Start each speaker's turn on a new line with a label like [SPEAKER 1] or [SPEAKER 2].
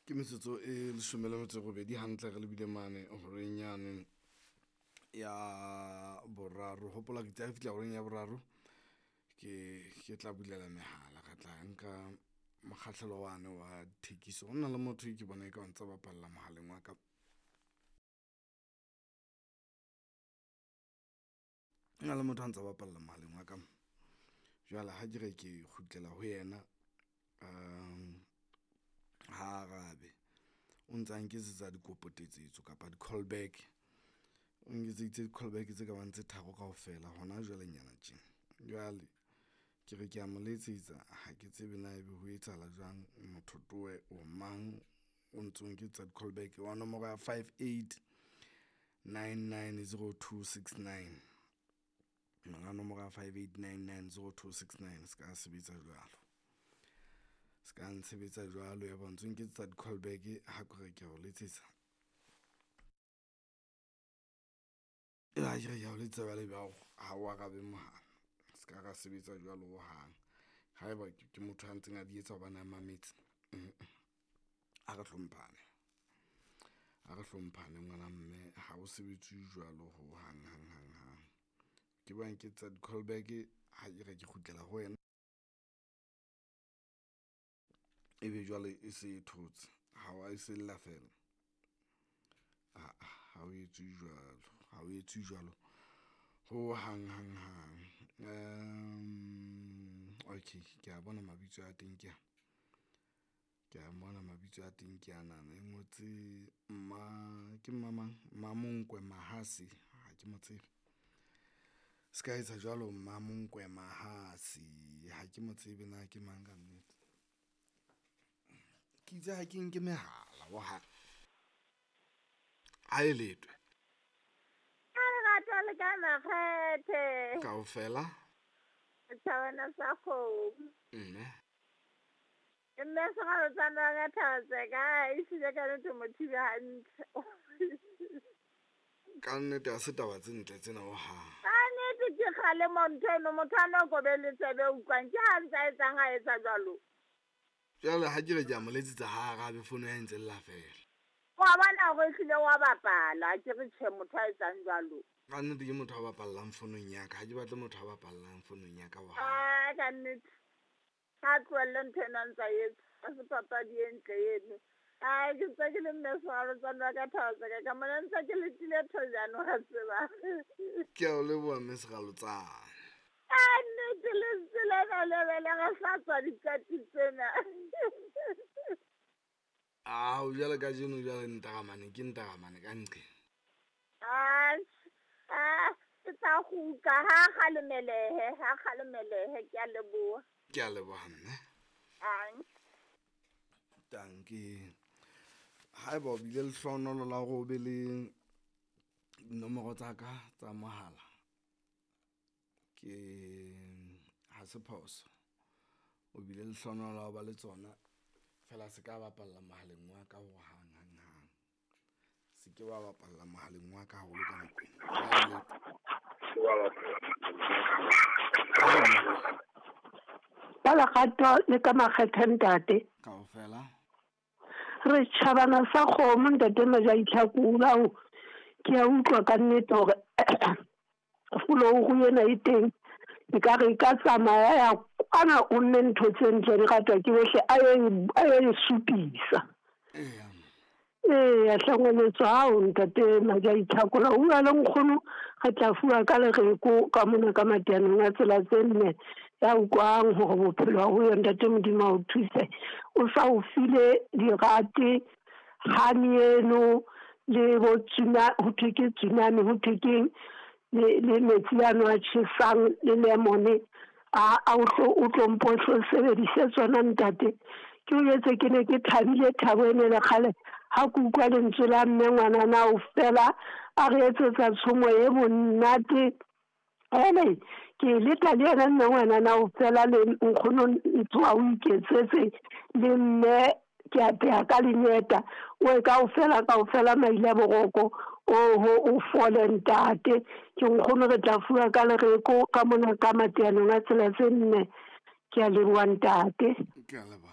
[SPEAKER 1] Ke metsotso e 18 hantle re lebile mane horeng yane ya boraro. Hopola ke tsa fihla horeng ya boraro, ke tla bulela mehala, re tla nka mokgahlelo wane wa thekiso. Ho na le motho e ke bona e ka o ntsa bapalla mohaleng wa ka. Ho na le motho a ntsa bapalla mohaleng wa ka. Jwale ha ke re ke kgutlela ho yena, ha arabe. O ntsa nketsetsa dikopo tetsetso kapa di-call back. O nketseditse di-call back tse kabang tse tharo kaofela hona jwalenyana tjena. Jwale ke re ke a mo letsetsa ha ke tsebe na ebe ho etsahala jwang. Motho towe o mang o ntso nketsetsa di-call back wa nomoro ya 58990269. Monga nomoro ya 58990269 se ka sebetsa jwalo. Se ka ntshebetsa jwalo ya ba ntso nketsetsa di-call back ha ke re ke a o letsetsa. Ha ke re ke a o letsetsa jwale ebe ha o arabe mohala. Se ka ra sebetsa jwalo hohang. Haeba ke motho a ntseng a di etsa hobane a mametse, a re hlomphane. A re hlomphane ngwana mme ha o sebetse jwalo ho hang hang hang hang. Ke ba nketsetsa di-call back ha ke re ke kgutlela ho wena. Ebe jwale e se e thotse ha wa e sella fela. Aa ha o etse jwalo, ha o etse jwalo ho hang hang hang. Okay, ke a bona mabitso a teng ke a. Ke a bona mabitso a teng ke anana e ngotse mma ke mmamang Mmamonkwe Mahase ha ke mo tsebe. Se ka etsa jwalo Mmamonkwe Mahase ha ke mo tsebe na ke mang ka nnete. Ke itse ha ke nke mehala hohang. Ha e letwe.
[SPEAKER 2] Ka lerato le ka makgethe.
[SPEAKER 1] Kaofela.
[SPEAKER 2] Thabana sa kgomo.
[SPEAKER 1] Mme.
[SPEAKER 2] Mme sekgalo tsa ka Thaba ka e hlile ka nnete mothibe hantle.
[SPEAKER 1] Ka nnete ha se taba tse ntle tsena hohang.
[SPEAKER 2] Ka nnete ke kgalemo ntho eno, motho a no kobe le tsebe utlwang ke ha ntse a etsang ha etsa jwalo.
[SPEAKER 1] Jwale ha ke re ke a mo letsetsa ha arabe fono ya ntse lla fela.
[SPEAKER 2] Wa bona hore ehlile wa bapala, ke re tjhe motho a etsang jwalo.
[SPEAKER 1] Ka nnete ke motho a bapallang fonong ya ka, ha ke batle motho a bapallang fonong ya ka hohang.
[SPEAKER 2] Ah, ka nnete. Ha tlohelle ntho eno a ntsa etsa, ha se papadi e ntle eno. Ai, ke ntse ke le mme sekgalo tsa ka Thaba ka mona ntse ke letile thojane wa tseba.
[SPEAKER 1] Ke a o leboha mme Sekgalotsane.
[SPEAKER 2] Ka nnete lentswe lena le be le re hlatswa diqati tsena.
[SPEAKER 1] Ao jwale kajeno jwale ntaramane ke ntaramane ka nqe.
[SPEAKER 2] Ah, ke tla kgutla ha kgalemelehe, ha kgalemelehe ke a leboha.
[SPEAKER 1] Ke a leboha mme.
[SPEAKER 2] Ang.
[SPEAKER 1] Tanki. Haeba o bile lehlohonolo la hore o be le dinomoro tsa ka tsa mohala, ke ha se phoso. O bile lehlohonolo la ho ba le tsona fela se ka bapalla mohaleng wa ka ho hang hang hang. Se ke wa bapalla mohaleng wa ka haholo ka nako ena.
[SPEAKER 3] Ka lerato le ka makgethe ntate.
[SPEAKER 1] Kaofela.
[SPEAKER 3] Re tjhabana sa kgomo ntate Majaitlhakola o ke a utlwa ka nnete hore folouru ena e teng ekare e ka tsamaya ya kwana o nne ntho tse ntle di ratwa ke bohle a ye e supisa.
[SPEAKER 1] Eya.
[SPEAKER 3] Eya hlangweletswa hao ntate Majaitlhakola o bua le nkgono re tla fuwa ka lereko ka mona ka mateanong a tsela tse nne ya utlwang hore bophelo ha ho ntate Modimo a o thuse. O sa o file dirate hani eno le bo tsuna ho thwe ke tsunami ho thwe keng le metsi ano a tjhesang le lemone a o tlo mpo hlo sebedise tsona ntate. Ke o etse ke ne ke thabile thabo ene le kgale ha ke utlwa lentswe la mme ngwanana o fela a re etsetsa tshomo e monate. Ene ke leta le yena mme ngwanana o fela le nkgono ntho a o iketsetse le mme ke a pheha ka lenyeta o e kaofela kaofela maile a boroko oho o fole ntate. Ke nkgono re tla fuwa ka lereko ka mona ka mateanong a tsela tse nne. Ke a leboha ntate.
[SPEAKER 1] Ke a leboha.